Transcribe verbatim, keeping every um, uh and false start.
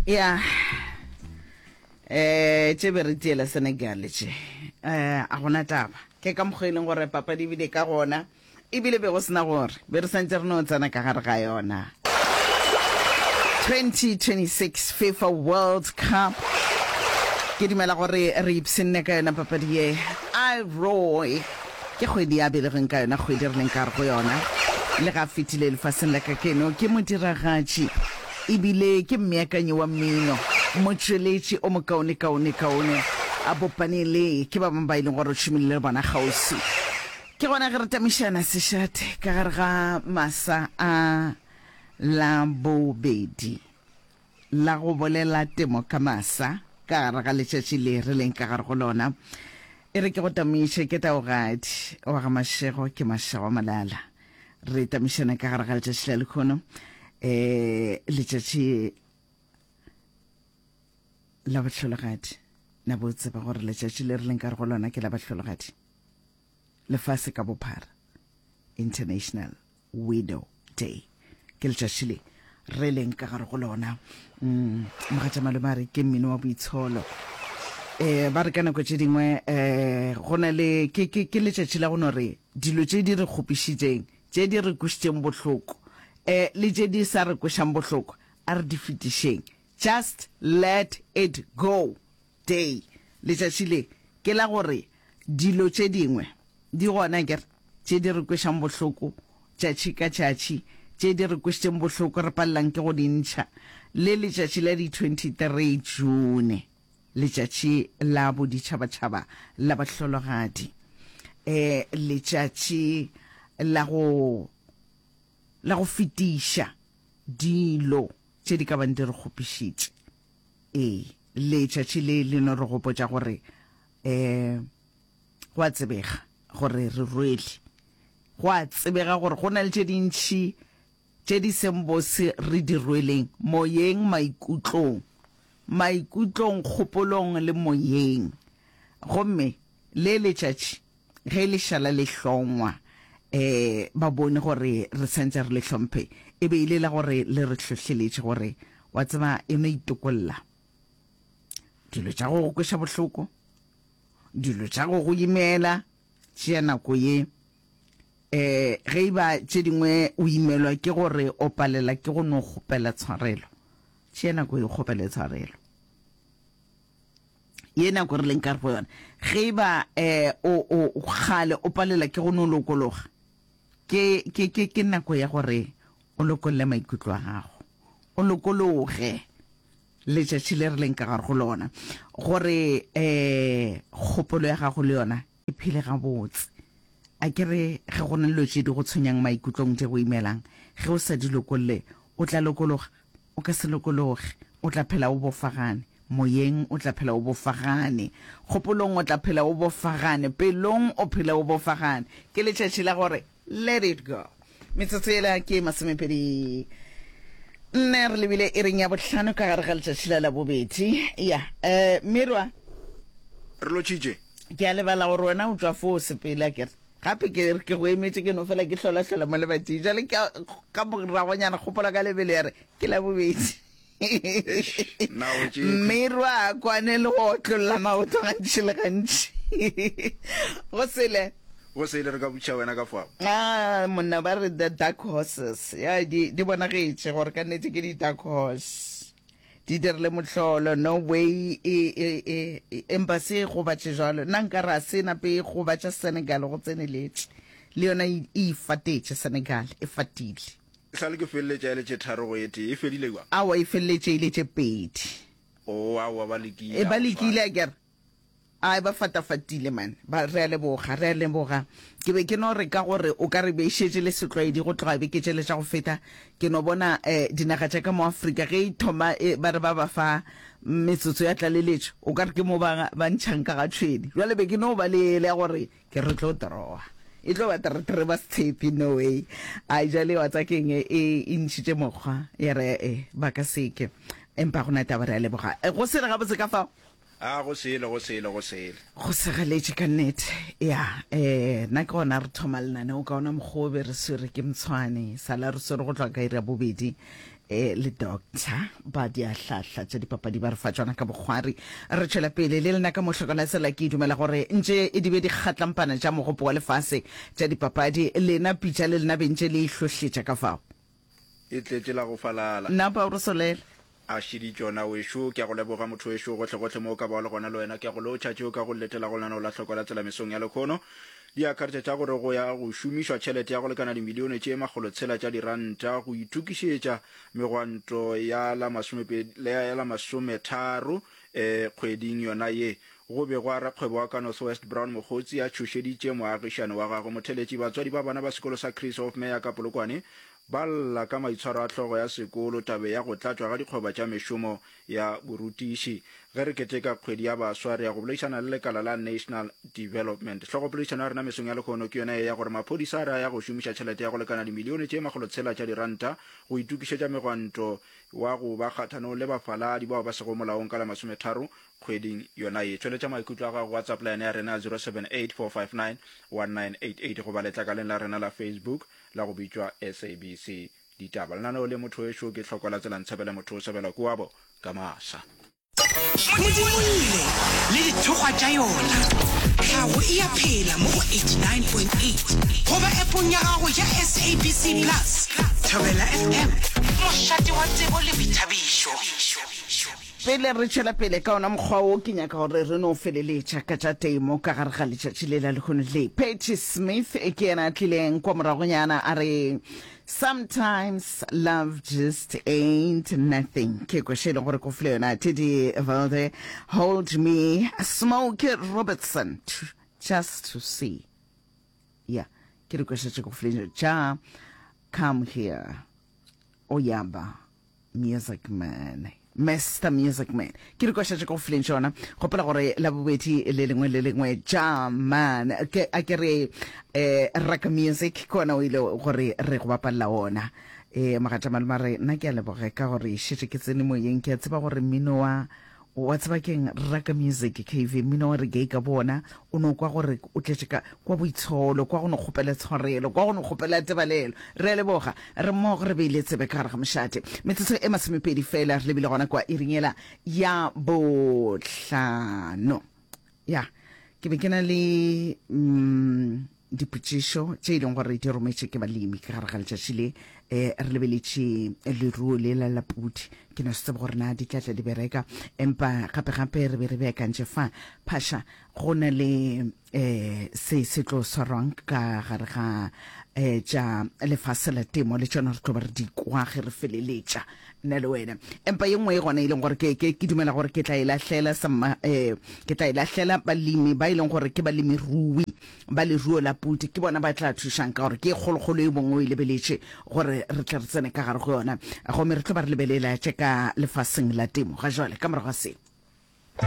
Ya, eh tše be re tiela Senegal tše, eh a gona taba. Ke ka mokgwa e leng gore papadi ebile ka gona, ebile be go sena gore be re santse re no tsena ka gare ga yona. twenty twenty-six FIFA World Cup, ke dumela gore re ipshinne ka yona papadi ye. I Roy ke kgwedi ya belegweng ka yona, kgwedi re leng ka gare go yona. Le ga fetile lefaseng la ka keno, ke modiragatši ebile ke mmeakanyi wa mmino, motšweletši o mokaone kaone kaone. A bopane le ke ba bangwe ba e leng gore o šomile le bona kgauswi. Ke gona ge re tamišana sešate ka gare ga masa a la bobedi la go bolela temo ka masa ka gare ga letšatši le re leng ka gare go lona. E re ke go tamiše, ke Taogadi wa ga Mashego, ke Mashego Malala. Re tamišana ka gare ga letšatši la lekhono, eh letšatši la bahlologadi. Na bo tseba gore letšatši le re leng ka gare go lona ke la bahlologadi lefase ka bophara, International Widow Day ke letšatši le re leng ka gare go lona. mm, mogatša malome a re ke mmino wa boitsholo. Eh ba re ka nako tše dingwe eh go na le ke ke ke letšatši la go no re dilo tše di re kgopišitšeng, tše di re kwešitšeng bohloko, eh le tše di sa re kwešang bohloko, a re di fetišeng. Just let it go day. Letšatši le ke la gore dilo tše dingwe di gona ke tše di re kwešang bohloko tšatši ka tšatši, tše di re kwešitšeng bohloko re palelang ke go di ntšha. Le letšatši la di twenty-three June, letšatši la boditšhabatšhaba la bahlologadi, eh letšatši la go la go fetiša dilo tše di ka bang di re kgopišitše. Ee, letšatši le le no re gopotša gore eh go a tsebega gore re rwele, go a tsebega gore go na le tše dintšhi tše di seng bose re di rweleng moyeng, maikutlong, maikutlong, kgopolong le moyeng. Gomme le letšatši ge le šala le hlongwa, eh ba bone gore re santse re le hlomphe, e be ile la gore le re hlohleletše gore wa tseba e no itokolla dilo tša go go kweša bohloko, dilo tša go go imela. Tšea nako ye, eh ge e ba tše dingwe o imelwa ke gore o palela ke go no kgopela tshwarelo, tšea nako ye o kgopele tshwarelo. Ye nako re leng ka go yona, ge e ba eh o o kgale o palela ke go no lokologa, ke ke ke ke nako ya gore o lokolle maikutlo a gago, o lokologe. Letšatši le re leng ka gare go lona, gore eh kgopolo ya gago le yona e phele gabotse. A ke re ge go na le dilo tše di go tshwenyang maikutlong, tše go imelang, ge o sa di lokolle, o tla lokologa? O ka se lokologe. O tla phela o bofagane moyeng, o tla phela o bofagane kgopolong, o tla phela o bofagane pelong, o phela o bofagane. Ke letšatši la gore let it go. Metsotso ela ke masomepedi nne, re lebile e reng ya bohlano ka gare ga letšatši la labobedi. Ya eh Mirwa, re lotšhitše. Ke a lebala gore wena o tšwa fo sepele, a kere gape ke ke go emetše, ke no fela ke hlola-hlola mo lebating. Jale ke ka moragonyana kgopola ka lebelo ya re ke labobedi. Mirwa a kwane le go otlolla maoto gantši le gantši. Go sele, go sele, re ka butša wena ka fao. Ah, monna, ba re the dark horses ya di di bonagetše gore ka nnete ke di dark horse, di dirile mohlolo. No way e e e empa se gobatše jalo, nna nka re a se nape e gobatša Senegal go tseneletše, le yona e ifatetše. Senegal e fatile. Sa le ke feleletša e le tše tharo go e tee, e fedile kwa. Awa, e feleletše e le tše pedi. O awa, ba lekile. E ba lekile, a kere ai ba fatafatile man. Ba re a leboga, re a leboga. Ke be ke no re ka gore o ka re be šetše le setlwaedi go tloga beke tšele tša go feta, ke no bona eh dinaga tša ka mo Afrika ge e thoma e ba re ba ba fa metsotso ya tlaleletšo, o ka re ke mo ba ba ntšhang ka ga tšhwene. Jwale be ke no ba le ele ya gore ke re tlo drawa, e tlo ba tere ba se tshepe, no way. A jale wa tsa keng, e e ntšhitše mokgwa ya re e ba ka seke, empa gona taba. Re a leboga. Go sele gabotse ka fao. A go sele, go sele, go sele. Go segeletše ka nnete. Ya, eh nna ke gona re thoma lenaneo ka ona mokgwa o be re swere ke mtshwane sala re swere go tloga ka iri ya bobedi. eh, le doctor ba diahlahla tša dipapadi ba re fa tšona ka bokgwari. Re tšwela pele le lena ka mohlokolasela. Ke dumela gore ntše e di be di kgatlampana tša mogopo wa lefase tša dipapadi, lena pitša le lena bentše le ihlohletša ka fao. E tletše la go falala. Napa o re solela. A šidi tšona wešo. Ke a go leboga motho wešo gohlegohle mo o ka bago le gona le wena. Ke a go lotšha tšeo ka go letela go lenaneo la Hloko la Tsela mesong ya lekhono. Di akaretša tša gore go ya go šomišwa tšhelete ya go lekana dimilione tše makgolotshela tša diranta go itokišetša megwanto ya la masomepedi, ya la masometharo e kgweding yona ye. Go begwa rakgwebo wa ka North West Brown Mogotsi a tšhošeditše moagišane wa gagwe Motheletši. Batswadi ba bana ba sekolo sa Chris Hofmeyer ka Polokwane ba lla ka maitshwaro a hlogo ya sekolo tabeng ya go tlatšwa ga dikgoba tša mešomo ya borutiši. Ge re keteka kgwedi ya baswa, re ya go boledišana le lekala la National Development. Hlogopoledišano ya rena mesong ya lehono ke yona ye ya gore maphodisa a re a ya go šomiša tšhelete ya go lekana dimilione tše makgolotshela tša diranta go itokišetša megwanto wa go ba kgathanong le bafaladi bao ba sego molaong ka la masometharo kgweding yona ye. Tšweletša maikutlo a gago WhatsApp line ya rena ya zero seven eight four five nine one nine eight eight goba letlakaleng la rena la Facebook la go bitšwa S A B C Ditaba. Lenaneo le motho wešo ke Hloko la Tsela Ntshebele motho o sebela kuabo ka masa. Modimolle le dithokgwa tša yona. Tlhago e a phela mo go eighty-nine point eight goba appong ya gago ya S A B C Plus. Thobela F M, mošate wa tsebo le boithabišo. Pele re tšwela pele ka ona mokgwa wo, ke nyaka gore re no feleletša ka tša temo ka gare ga letšatši le la lehono le. Patti Smith ke yena a tlileng kwa moragonyana a re, Sometimes love just ain't nothing. Ke kwešo e leng gore ko file yona Teddy Velde, Hold Me, Smokey Robertson, Just to See. Yeah, ke dikwešo tše ko fileng tša Come Here, Oyaba, Music Man, Mister Music Man. Ke dikoša tše ke go fileng tšona. Gopola gore la bobedi le lengwe le lengwe ja man ke a ke re eh rock music ke ona o ile gore re go bapalela ona. Eh mogatša malome a re nna ke a leboge ka gore šetše ke tsene moyeng, ke a tseba gore mmino wa wa tseba keng rock music K V mmino wa reggae ka bona o no kwa gore o tletše ka kwa boitsholo, kwa go no kgopela tshwarelo, kwa go no kgopela tebalelo. Re a leboga, re mmogo re beile tsebe ka gare ga mošate. Metsotso e masomepedi fela re lebile gona kwa iring yela ya bohlano. Ya, ke be ke na le mm, dipotšišo tše e leng gore di rometše ke balemi ka gare ga letšatši le. Eh, re lebeletše leruo le la la pudi, ke no se tsebe gore na di tla tla di bereka, empa gape gape re be re beakantše fa phasha go na le eh se se tlo swarwang ka gare ga eh tša lefase la temo, le tšona re tlo ba re di kwa ge re feleletša nna le wena. Empa ye nngwe e gona e leng gore ke, ke, ke dumela gore ke tla e lahlela samma, eh, ke tla e lahlela balemi ba e leng gore ke balemirui ba leruo la pudi, ke bona ba tla thušang ka gore ke e kgolokgolo e bongwe o e lebeletše gore re tle re tsene ka gare go yona, gomme re tlo ba re lebelela tše ka lefaseng la temo ga jwale ka morago ga se.